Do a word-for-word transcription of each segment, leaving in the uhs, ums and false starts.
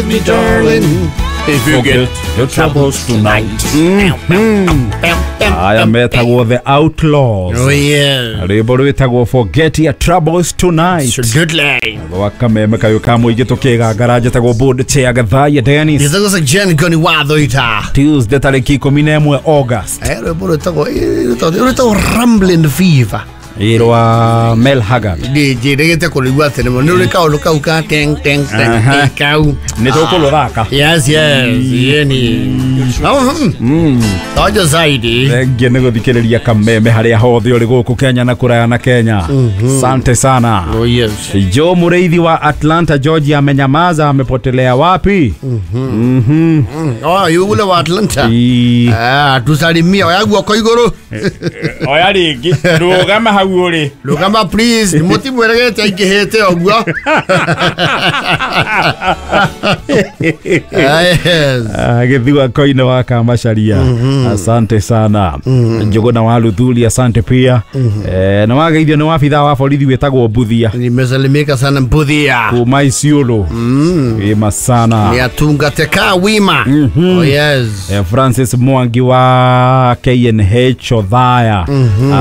Me, darling, if you get your troubles tonight. Aya metagwo The Outlaws. Oh yeah. Rwĩmbo rwĩtagwo Forget Your Troubles Tonight. It's a good line. Rwa kameme kayo ka mũingĩ tũkĩgangara njĩtagwo Board Chair Gathaiya Dennis. Njĩtagwo Jen Goni Wathoita. Tuesday tarĩki ikũmi na ĩmwe August. Eh, rwĩmbo rwĩtagwo rwĩtagwo Rambling Fever. Irwa Mel Haggard. Njĩrĩgĩte kũrĩigua atĩ nĩ rũrĩ kaũndũ kau ka teng teng teng kau. Nĩ tũkũrũthaka. Yes, yes. Yeni. Mm. Tojo zaidi. Thengia nĩ gũthikĩrĩria kameme harĩa hothe ũrĩ gũkũ Kenya na kũraya na Kenya. Sante sana. Oh yes. Joe Mũrĩithi wa Atlanta, Georgia amenyamaza, amepotelea wapi? Mhm. Oh, yule wa Atlanta. Ah, tusalimia oya guoko igũrũ. Oya rĩngĩ. Rũgama hau uri. Rũgama please, mũtimweregete aingĩhĩte ũguo. Yes. Ah, gĩthua koine wa Kamacharia. Asante sana. Njuguna wa Luthuli, asante pia. Eh, na wageithio nĩ wabithaa wa borithi wĩtagwo Mbuthia. Nimesalimika sana Mbuthia. Kuma Isiolo. Wima sana. Ni atungate ka wima. Oh yes. Eh, Francis Mwangi wa K N H Othaya.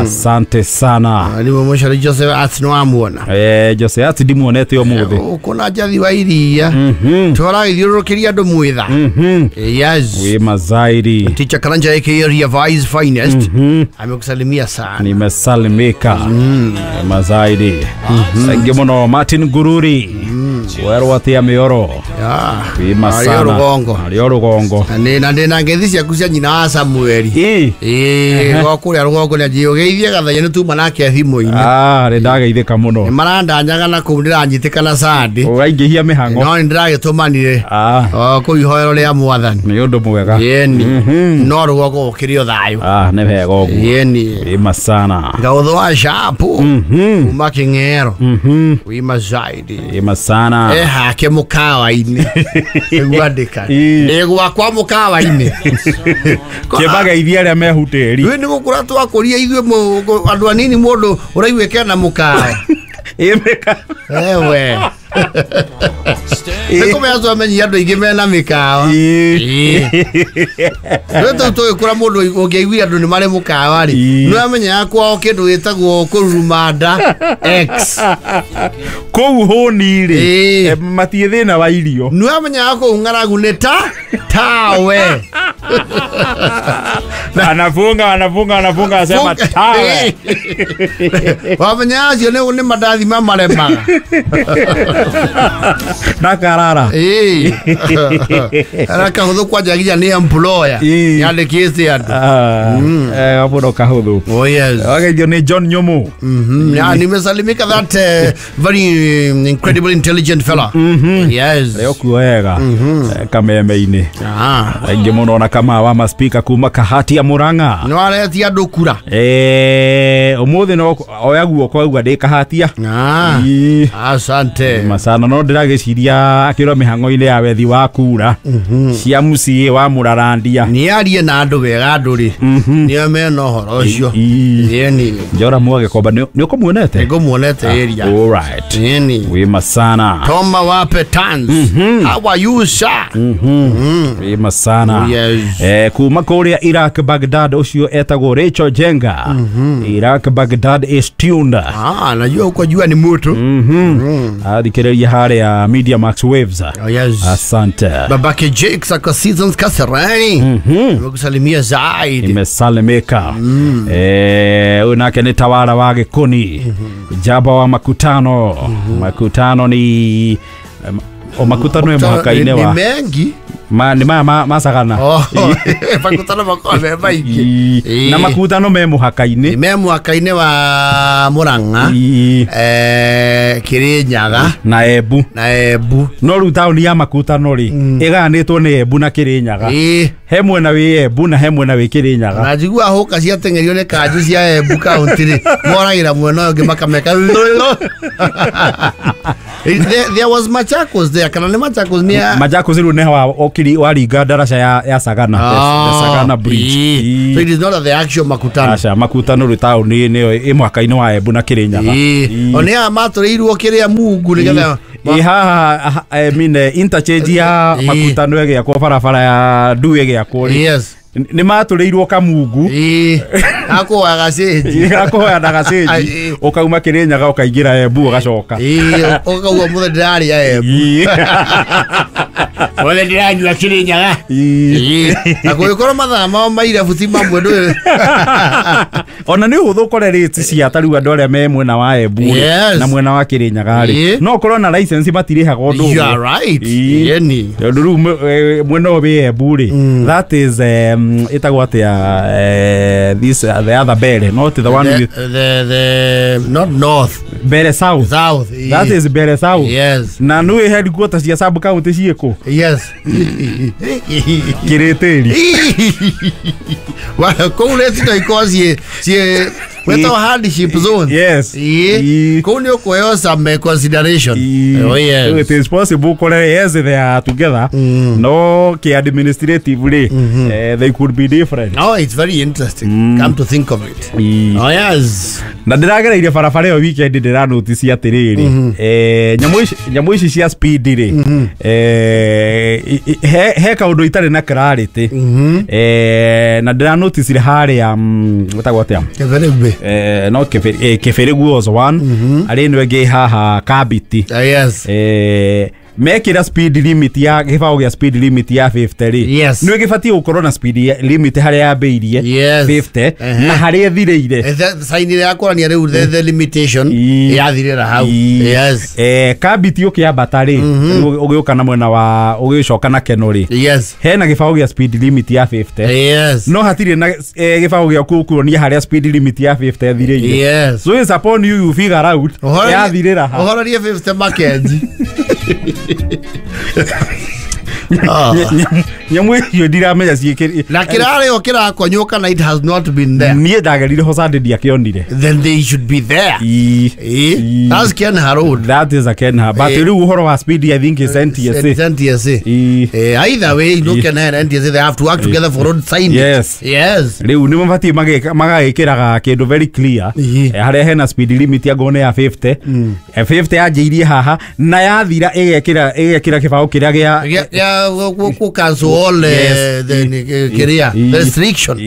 Asante sana. Ni mwisho Joseph Atno amuona. Eh, Joseph Atno ndimuonete ũmũthĩ. Ũkona njathi wa iria. Tũragĩthiũrũrũkĩria andũ mwitha. Yes. Wima zaidi. Teacher Karanja aka Revice Finest. Amekusalimia sana. Nimesalimika. Wima zaidi. Thank you muno Martin Gururi. Werwo atia mioro. Wima sana. Ario rugongo. Ario rugongo. Na ndĩ na ngeithi ciaku cia nyina wa Samueli. Ĩĩ, gwa kũrĩa rũgongo nĩ anjĩũgeithie Gathaiya nĩ tuma nake thimũ-inĩ. Ah, nĩ ndageithĩka mũno. Nĩ marandanyaga na kũu ndĩranyitĩkana Sunday. Ũraingĩhia mĩhang'o. No nĩ ndĩragĩtũmanire. Ah. O kũu ihoero rĩa Mwathani. Nĩ ũndũ mwega. Yeni. No rũgongo gũkĩrĩ o thayũ. Ah, nĩ wega ũguo. Yeni. Wima sana. Gaũthũ wa Shapu. Kuma Kĩng'ero. Wima zaidi. Wima sana. Eh, hake mũkawa-inĩ. Nĩguo andĩka. Ĩ gwakwa mũkawa-inĩ. Kĩmageithia arĩa mehutĩri. Rĩu nĩ gũkũra twakũria ithuĩ andũ anini mũndũ ũraiguĩka na mũkawa. Ĩ mĩkawa. Ewe. Nĩ kũmenya twamenyia andũ aingĩ mena mĩkawa. Rĩu tũu tũgĩkũra mũndũ ũngĩaiguire andũ nĩ marĩ mũkawa rĩ, nĩ wamenyaga kwao kĩndũ gĩtagwo kũruruma nda X. Kũu hũni rĩ, matiĩ thĩna wa irio. Nĩ wamenyaga kũu ng'aragu nĩ ta tawe. Anafunga, anafunga, anafunga, asema tawe. Wamenya acio nĩ mandathi ma maremaga. Na karara. Ĩĩ. Ara kahũthũ kwanjagia nĩ employer. Yandĩkĩte andũ. Eh, hapo ndo kahũthũ. Oh yes. Wageithio nĩ John Nyumu. Mhm. Yeah, nimesalimika that uh, very incredible intelligent fella. Yes. Leo kuo wega. Kameme-inĩ. Ah. Aingĩ mũno na kama wa maspika kuma Kahati ya Murang'a. Nĩ waretia andũ kura. Eh, ũmũthĩ no oya guoko auga ndĩ Kahatia. Ah. Asante. Masana no ndĩragĩciria akĩrwo mĩhang'o-inĩ ya wethi wa kura. Cia M C A wa Mũrarandia. Nĩ arie na andũ wega andũ rĩ. Nĩo mena ũhoro ũcio. Yeni. Njora Mwagĩkomba nĩ ũkũmuonete? Nĩngũmuonete area. All right. Yeni. Wima sana. Toma wape tans. How are you sir? Wima sana. Yes. Eh, kuma kũrĩa Iraq Baghdad ũcio etagwo Rachel Jenga. Iraq Baghdad is tuned. Ah, najua uko jua ni moto. Mhm. Athikĩrĩria harĩa Media Max Waves. Oh yes. Asante. Babake Jake sako seasons Kasarani. Nimekusalimia zaidi. Nimesalimika. Eh, huyu nake ni tawala wa Gĩkũni. Jaba wa makutano. Makutano ni o makutano e mũhaka-inĩ wa Ni mengi. Ma ni ma ma masagana. Oh, makutano makwa me maingĩ. Na makutano me mũhaka-inĩ. Me mũhaka-inĩ wa Murang'a. Eh, Kirinyaga na Embu. Na Embu. No rĩu taũni ya makutano rĩ ĩgayanĩtwo nĩ Embu na Kirinyaga. He mwena wĩ Embu na he mwena wĩ Kirinyaga. Na njigua hũka ciateng'erio nĩ kanjũ cia Embu kaunti rĩ moragĩra mwena ũyũ ũngĩ makameka. There, there was Machakos there. Kana nĩ Machakos nĩ Machakos rĩu nĩ wa ũkiri waringa ndaraca ya ya Sagana, the, the Sagana Bridge. So it is not the actual Makutano. Aca Makutano rĩ taũni nĩyo ĩ mũhaka-inĩ wa Embu na Kirinyaga. One aya matũrĩirwo kĩrĩa Mungu nĩgetha ĩ haha, I mean, interchange ya Makutano ĩgĩakwo, barabara ya Ndu ĩgĩakwo rĩ, yes nĩ matũrĩirwo kamungu gakũhoya gacenji, gakũhoya na gacenji, ũkauma Kirinyaga ũkaingĩra Embu ũgacoka, ũkauga mũthenya ndĩrarĩa Embu, mũthenya ndĩranyua Kirinyaga, na kũngĩkorwo mathaa mao ma irabu ti mamwe ndũĩ. Ona nĩ ũhũthũ ũkore rates cia ta rĩu andũ arĩa me mwena wa Embu na mwena wa Kirinyaga rĩ, no ũkorwo na license matirĩhaga ũndũ ũmwe. You are right. Yeni tondũ rĩu mwena ũyũ wĩ Embu rĩ, that is um, ĩtagwo atĩa, this uh, the other Bere, not the one the, with the the not north, Bere south, south, that is Bere south. Yes. Na nĩ headquarters cia sub county ciĩkũ? Yes. Kiritiri. Wa kũu rĩ no ikorwo ciĩ ciĩ wetagwo hardship zone. Yes. Kũu nĩ ũkũheo some consideration. Oh yes. It is possible kore, yes, they are together. Mm. No ke administratively, mm -hmm. uh, they could be different. Oh, it's very interesting. Mm. Come to think of it. Mm. Oh yes. Na ndĩragereire barabara ĩyo weekend ndĩra notice atĩrĩrĩ, eh nyamũ ici nyamũ ici cia speed rĩ, eh he he kaũndũ itarĩ na clarity. Eh na ndĩra notice harĩa wetagwo atĩa? Kĩbĩrĩgwe. Eh no Kĩbĩrĩgwe was one. Arĩ ĩno ĩngĩ haha Kabiti. Yes. Eh mekira speed limit ya gĩbaũ gĩa speed limit ya fifty rĩ, yes, nĩ gĩbatiĩ gũkorwo na speed limit harĩa yambĩirie yes, fifty na harĩa ĩthirĩire. Sign ya kuonania rĩu the, the limitation yathirĩra hau. Yes. Eh Kabiti ũkĩambata rĩ, ũgĩũka na mwena wa ũgĩcoka na Keno rĩ, yes, hena gĩbaũ gĩa speed limit ya fifty. Yes. No hatirĩ na gĩbaũ gĩa kuonia harĩa speed limit ya fifty ĩthirĩire. Yes. So it's upon you you figure out yathirĩra ha. Ũhorerie fifty Mackenzie. Nyamũ icio ndiramenya ciĩkĩri na kĩrarĩo kĩrakonywo kana it has not been there. Niĩ ndagerire ho Sunday ndiakĩonire. Then they should be there. E, that's Kenha Road. That is a Kenha. But rĩu ũhoro wa speed I think is N T S A. It's N T S A. Eh, either way, no Kenha and N T S A, they have to work together for road signage. Yes. Yes. Rĩu nĩ mabatiĩ magagĩkĩraga kĩndũ very clear harĩa hena speed limit ya ngone ya fifty. fifty yanjĩirie haha na yathira ĩgekĩra ĩgekĩra kĩbaũ kĩrĩa gĩa ya ku cancel all the kĩrĩa restriction.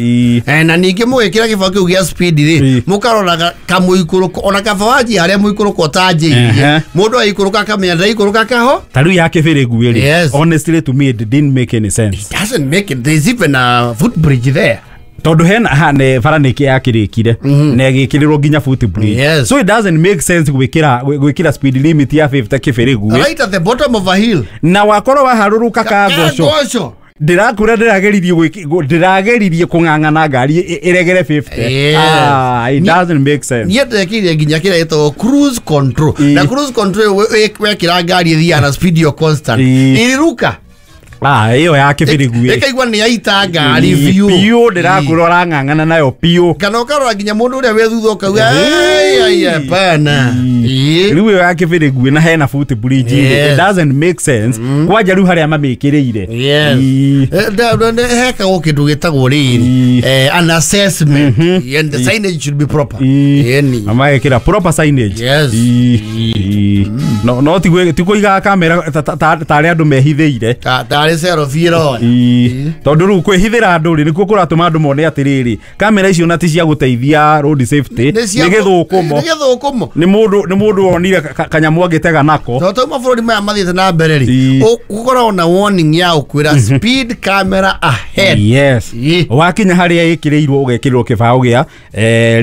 Na ningĩ mũgĩkĩra kĩbaũ kĩu gĩa speed rĩ, mũkaroraga kamũikũrũko ona kaba wanjia harĩa mũikũrũko ũtanjĩirie, mũndũ aikũrũka akamenya ndaikũrũka kaho. Ta rĩu ya Kĩbĩrĩgu rĩ, honestly to me it didn't make any sense. It doesn't make it. There's even a footbridge there. Tondũ hena hane bara nĩ yakĩrĩkire na ĩgĩkĩrĩrwo nginya footbridge. Yes. So it doesn't make sense gwĩkĩra gwĩkĩra speed limit ya fifty Kĩbĩrĩgu right at the bottom of a hill, na wakorwo waharũrũka kangoco. Ndirakura ndĩrageririe ndĩrageririe kũng'ang'ana ngari ĩregere fifty. Ah, it doesn't make sense. Niĩ ndekire nginya kĩrĩa gĩtagwo cruise control. Na cruise control wekĩra ngari ĩthiaga na speed yo constant, ĩrĩruka. Ah, ĩyo ya Kĩbĩrĩgu ĩkaigua nĩ yaita ngari biũ biũ, ndĩrakũra ũrang'ang'ana nayo biũ, kana ũkarora nginya mũndũ ũrĩa wĩ thutha ũkauga ai hapana. Rĩu ĩyo ya Kĩbĩrĩgu na hena footbridge, it doesn't make sense kwanja rĩu harĩa mamĩkĩrĩire. Yes. Hekagwo kĩndũ gĩtagwo rĩrĩ an assessment, and the signage should be proper. Yeni magekĩra proper signage. Yes. No no ti kũiga kamera tarĩa andũ mehithĩire tondũ rĩu kwĩhithĩra andũ rĩ nĩkuo kũratũma andũ mone atĩrĩrĩ kamera icio na ti cia gũteithia road safety, nĩ gĩthũkũmo nĩ mũndũ nĩ mũndũ wonire kanyamũ angĩtega nako. Tondũ mabũrũri maya mathiĩte na mbere rĩ, ũkoragwo na warning ya ũkwĩra speed camera ahead. Yes. Wakinya harĩa ĩkĩrĩirwo ũgekĩrĩrwo kĩbaũ gĩa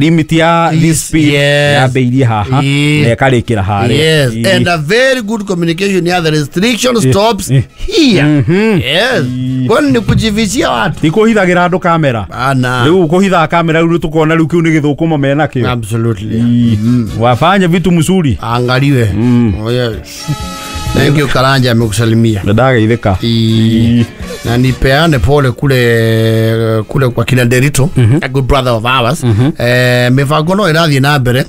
limit ya this speed yambĩirie haha na ĩkarĩkĩra harĩa. Yes. And a very good communication ya the restriction stops here. Yes. Kwani ni kujivishia watu. Ti kũhithagĩra andũ kamera. Rĩu kũhithaga kamera rĩu tũkona rĩu kĩu nĩ gĩthũkũmo mena kĩo. Absolutely. Wafanye vitu mzuri. Angaliwe. Oh yes. Thank you Karanja, amekusalimia. Ndageithĩka. Na nipeane pole kule kule kwa kina Derito, a good brother of ours. Eh mibango no ĩrathiĩ na mbere.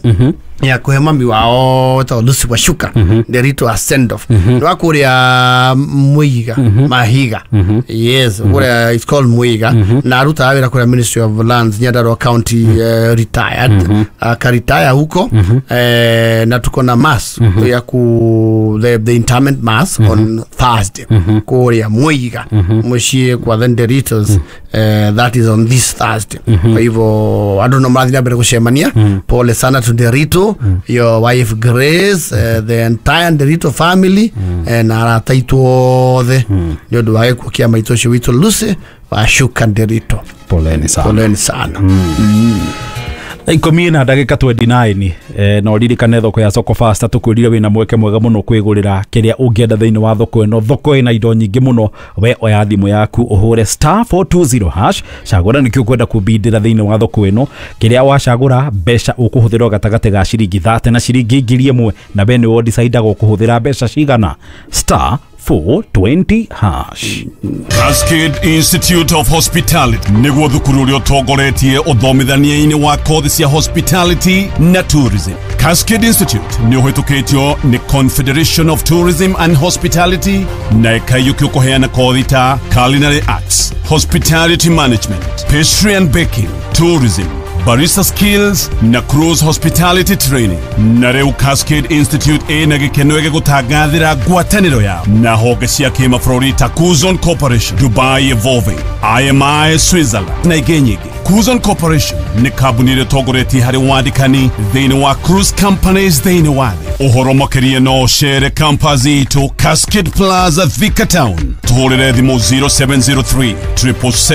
Ya kuhe mami wao wetagwo Lucy Wacuka Nderitu a send off nĩ wa kũrĩa Mwiga Mahiga, yes, kũrĩa it's called Mwiga, na arutaga wĩra kũrĩa Ministry of Lands, Nyandarua County, eh, retired, akaritaya huko, eh, na tuko na mass ya ku the, the interment mass on Thursday kũrĩa Mwiga mũciĩ kwa the Nderitos. eh, that is on this Thursday. Kwa hivyo andũ no marathiĩ na mbere gũcemania. Pole sana to Nderito, your wife Grace, uh, the entire Nderito family, eh, na arata aitũ othe nĩ ũndũ wa gĩkuũ kĩa maitũ ũcio witũ Lucy Wacuka Nderito. Poleni sana. Poleni sana. Ikũmi na ndagĩka mĩrongo ĩĩrĩ na inyanya. eh, na ũririkane thoko ya Soko Fasta tũkwĩrire wĩna mweke mwega mũno kwĩgũrĩra kĩrĩa ũngĩenda thĩinĩ wa thoko ĩno. Thoko ĩna indo nyingĩ mũno. We oya thimũ yaku, ũhũre star four two zero hash, cagũra nĩkĩo ũkwenda kũbindĩra thĩinĩ wa thoko ĩno. Kĩrĩa wacagũra, mbeca ũkũhũthĩra o gatagatĩ ga ciringi thate na ciringi ngiri ĩmwe, na we nĩwe ũdecidaga ũkũhũthĩra mbeca cigana. star four twenty hash. Cascade Institute of Hospitality nĩguo thukuru ũrĩa ũtongoretie ũthomithania-inĩ wa kothi cia hospitality na tourism. Cascade Institute nĩ ũhĩtũkĩtio nĩ Confederation of Tourism and Hospitality na ĩkaiyũkio kũheana kothi ta culinary arts, hospitality management, pastry and baking, tourism, barista skills na cruise hospitality training. Na rĩu Cascade Institute ĩna gĩkeno gĩgũtangathĩra ngwatanĩro yao na honge cia kĩmabũrũri ta Cuzon Corporation, Dubai Evolving, I M I Switzerland na ingĩ nyingĩ. Cuzon Corporation nĩ kambuni ĩrĩa ĩtongoretie harĩ wandĩkani thĩinĩ wa cruise companies thĩinĩ wa thĩ. Ũhoro makĩria no ũcere campus itũ, Cascade Plaza, Thika Town. Tũhũrĩre thimũ zero seven zero three triple seven.